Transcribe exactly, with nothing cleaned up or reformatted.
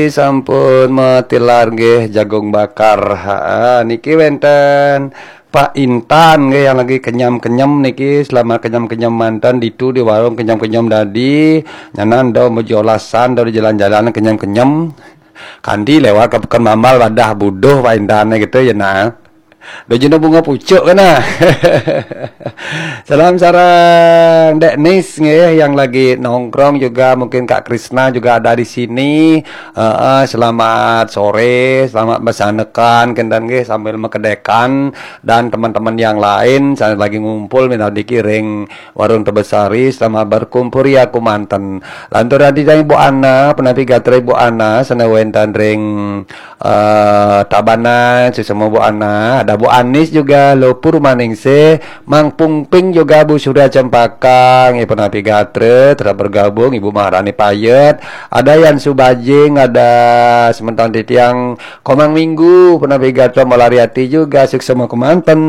Sampun matilar nggih jagung bakar. Ha, niki wénten Pak Intan nggih yang lagi kenyem-kenyem niki, selamat kenyem-kenyem manten ditu di warung kenyem-kenyem dadi. Nyanan do mujolasan do di jalan-jalan kenyem-kenyem. Kanti lewat ke Pekan Mambal wadah buduh Pak Intan gitu ya nah. Dojino bunga pucuk kena. Salam sarang Dek Nis nggih yang lagi nongkrong juga, mungkin Kak Krisna juga ada di sini. Heeh, selamat sore, selamat besanekan kenten nggih sambil mekedekan dan teman-teman yang lain saya lagi ngumpul minadiki ring warung Tebesari, selamat berkumpul ya kumanten. Lantur adi Ibu Ana, penapi gatra Ibu Ana, sana wénten ring eh, Tabanan, sesama Bu Ana, ada Bu Anis juga, Lopur Maningsih, Mang Pungping juga, Bu Surya Cempaka, nggih penapi gatra, telah bergabung, Ibu Maharani Payet, ada Yan Subajing, ada sementan titiang Komang Minggu, penapi gatra Malariati juga, suksma kemanten.